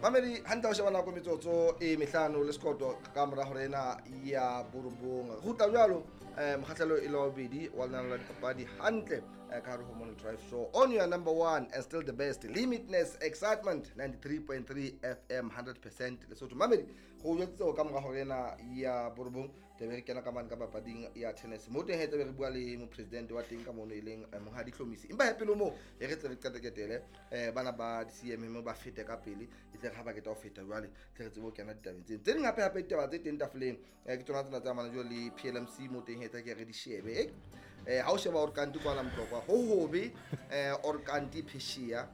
Mamedi hantle o sheba nako metsotso e mehlano le sekoto ka mora hore ena ya borobong. Re kgutla jwalo mokgahlelo e le wa bobedi wa lenaneo la dipapadi hantle ka hare ho Morning Drive Show on your number one and still the best limitless excitement 93.3 FM 100% Lesotho. Mamedi go jwetsitse ka mora hore ena ya borobong tlabe re kena ka mane ka papading ya tennis mo teng he tlabe re bua le mopresidente wa teng ka mono e leng Monghadi Hlomisi. Empa he pele moo e re tle re qeteketele bana ba di-C_M_M ba fete ka pele e tle re ha ba keta ho feta jwale tle re tsebe ho kena ditabeng tseno tse ding hape hape ditaba tse teng tafoleng ke tsona tsena tse amana jwalo le P_L_M_C mo teng he tla ke re di shebe ha o sheba Orkanti kwana Motlokwa ho hobe Orkanti Phesheya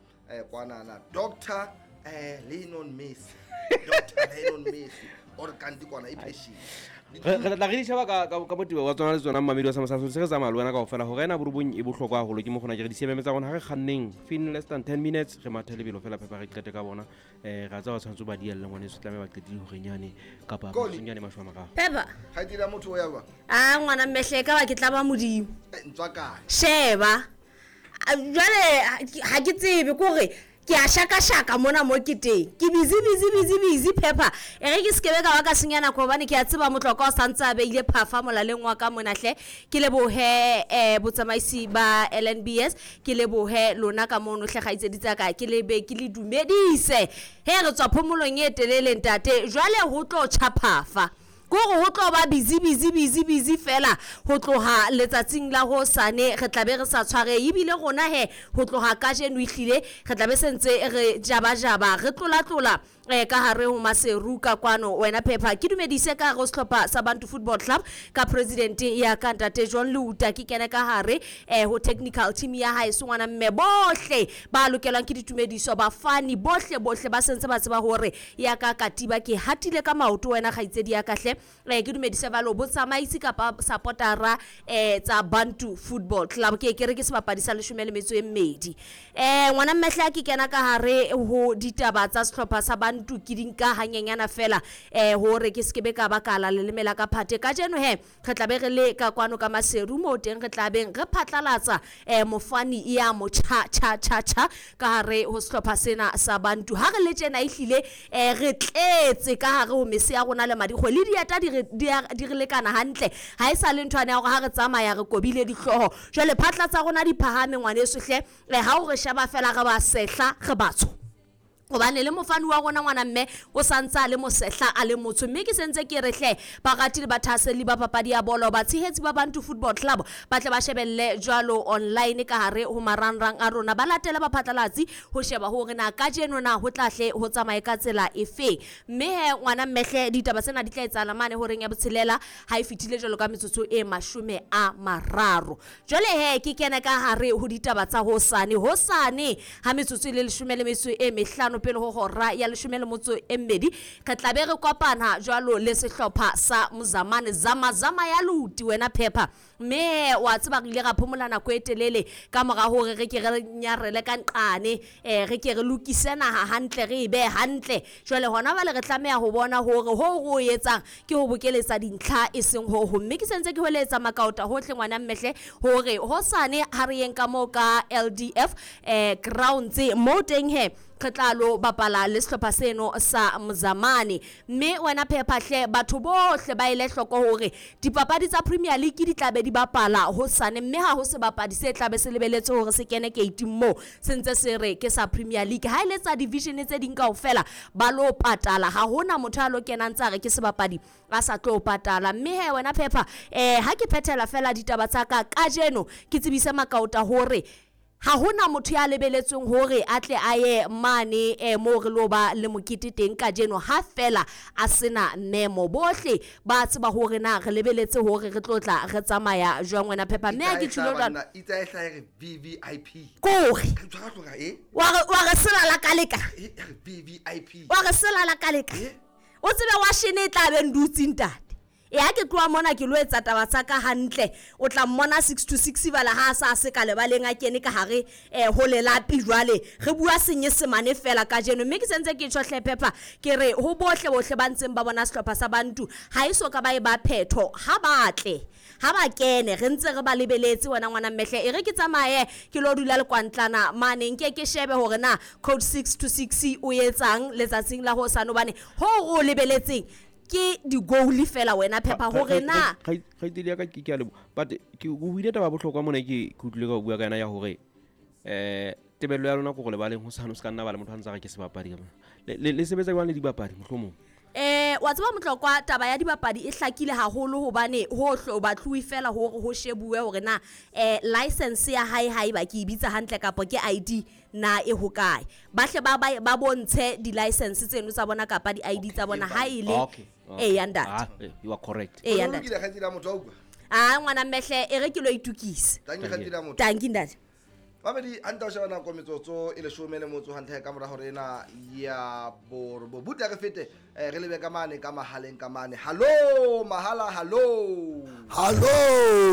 kwanana Dr Lionel Messi Dr Lionel Messi Orkanti kwana e Phesheya Re tla re di sheba ka botebo wa tsona le tsona mmamedi wa sa se re tsamaya le wena kaofela hore ena borobong e bohlokwa haholo ke mo kgona ke re di-C_M_M tsa rona ha re kganneng fin less than 10 minutes re mathe lebelo fela phepa re qete ka bona ra tseba ba tshwanetse ba dielle ngwaneso tlameha ba qetile horenyane kapa Koli. metsotsonyane mashome a mararo. Peppa. Ha e dira motho o ya jwang? A ngwana mmehle ka ba ke tla ba modimo. Ntswa kae? Sheba. Jwale ha ke tsebe ke hore ke a shakashaka mona mo ke teng. Ke busy busy busy busy Peppa. E re ke sekebe ka ba ka senya nako hobane ke a tseba Motlokwa o santse a beile phafa molaleng wa ka mona hle. Ke lebohe botsamaisi ba LNBS, ke lebohe lona ka mono hle kgaitsedi tsa ka, ke lebe ke le dumedise. He re tswa phomolong e telele ntate, jwale ho tlo tjha phafa. Ke hore ho tlo ba busy busy busy busy fela ho tloha letsatsing la hosane re tla be re sa tshwarehe. Ebile rona he ho tloha kajeno ehlile re tla be se ntse re jabajaba re tlolatlola ka hare ho Maseru ka kwano. Wena Peppa ke dumedise ka hare ho sehlopha sa Bantu Football Club ka president ya ka ntate John Leuta, ke kene ka hare ho technical team ya hae sengwana mme bohle ba lokelwang ke ditumediso bafani bohle bohle ba sentse ba tseba hore ya ka katiba ke hatile ka maoto wena kgaitsedi ya ka hle. Ke dumedise ba lo botsamaisi kapa supportera tsa Bantu Football Club ke ke re ke sebapadi sa leshome le metso e mmedi. Ngwana mmehla ke kena ka hare ho ditaba tsa sehlopha sa Bantu ke di nka hanyenyana fela hore ke sekebe ka ba ka la leleme la ka phate. Kajeno he re tla be re le ka kwano ka Maseru moo teng re tla beng re phatlalatsa mofani ya motjha cha cha cha ka hare ho sehlopha sena sa Bantu. Ha re le tjena ehlile re tletse ka hare ho mese ya rona le madikgwe le dieta di re lekana hantle. Ha e sa le nthwane ya hore ha re tsamaya re kobile dihlooho. Jwale phatla tsa rona di phahame ngwaneso hle, ha o re sheba fela re ba sehla re batsho. Hobane le mofani wa rona ngwana mme o santse a le mosehla a le motsho, mme ke sentse ke re hle barati le bathahaselli ba papadi ya bolo batshehetsi ba Bantu Football Club ba tle ba shebelle jwalo online ka hare ho marangrang a rona, ba latele baphatlalatsi ho sheba hore na kajeno na ho tla hle ho tsamaye ka tsela efe. Mme he ngwana mme hle ditaba tsena di tla etsahala mane horeng ya botshelela ha e fetile jwalo ka metsotso e 30. Jwale he ke kene ka hare ho ditaba tsa hosane. Hosane ha metsotso e le leshome le metso e mehlano pele ho hora ya leshome le motso e mmedi re tla be re kopana jwalo le sehlopha sa Mzamane Zamazama ya Luti wena Peppa. Mme wa tseba re ile ra phomola nako e telele ka mora hore re ke re nyarele ka nqane, re ke re lokise naha hantle re e behe hantle. Jwale hona jwale re tlameha ho bona hore ho re o etsang ke ho bokeletsa dintlha e seng ho ho. Mme ke sentse ke hweletsa makaota hohle ngwana mmehle hore hosane ha re yeng ka moo ka LDF grounds moo teng he re tla lo bapala le sehlopha seno sa Mzamane. Mme wena Peppa hle batho bohle ba ele hloko hore dipapadi tsa Premier League di tla be di bapala hosane, mme ha ho sebapadi se tla be se lebeletse hore se kene gate moo se ntse se re ke sa Premier League. Ha e le tsa division tse ding kaofela ba lo patala, ha hona motho a lo kenang tsa re ke sebapadi a sa tlo patala. Mme he wena Peppa ha ke phethela fela ditaba tsa ka kajeno ke tsebise makaota hore ha hona motho ya lebeletsweng hore a tle a ye mane moo re lo ba le mokete teng kajeno ha fela a sena memo. Bohle ba tseba hore na re lebeletse hore re tlo tla re tsamaya jwang wena Peppa. Mme ha ke tjhilo jwalo Itsa e hlahe re VVIP. Kore. Ka tshwara tloga, eh? Wa re selala ka leka. Eh, ya re VVIP. Wa re selala ka leka. Eh? O tsebe wa shene e tla be ndutseng ntate. E ha ke tloha mona ke lo etsa taba tsa ka hantle, o tla mmona 6 to 6 bala ha a sa se ka lebaleng a kene ka hare ho lelapi. Jwale re bua Senyesemane fela kajeno, mme ke sentse ke tjho hle Pepper, ke re ho bohle bohle ba ntseng ba bona sehlopha sa Bantu ha e so ka ba e ba phetho, ha ba tle, ha ba kene, re ntse re ba lebeletse. Wena ngwana mmehle, e re ke tsamaye ke lo dula lekwantlana mane, nke ke shebe hore na code 6 to 6 o etsang letsatsing la hosane, hobane ho re o lebeletseng ke di-goal fela wena Pepper, hore na Kgaitsedi ya ka, ke a leboha, but ke o buile taba ya bohlokwa mona, ke utlwile ka o bua ka yona ya hore tebello ya lona ke gore lebaleng ho sane o se ka nna ba le motho a ntse a re ke sebapadi ka mona. Le sebetsa jwang le dibapadi mohlomong? Wa tseba Motlokwa, taba ya dibapadi e hlakile haholo, hobane ho hlo batluwe fela hore ho shebuwe hore na license ya hae, haeba ke e bitsa hantle, kapa ke ID na e hokae. Ba hle ba bontshe di-license tseno tsa bona kapa di-ID tsa bona ha e le Okay. E ya ntate. Ah, you are correct. E ya O ntate. lokile, kgaitsedi ya motho, wa utlwa? A ngwana mmehle, e re ke lo itukisa. Tanki, kgaitsedi ya motho. Tanki ntate. Mamedi hantle, o sheba nako metsotso e 18 hantle ka mora hore ena ya borobo butle re fete, re lebe ka mane ka mahaleng ka mane. Hallo mahala, hallo. Hallo.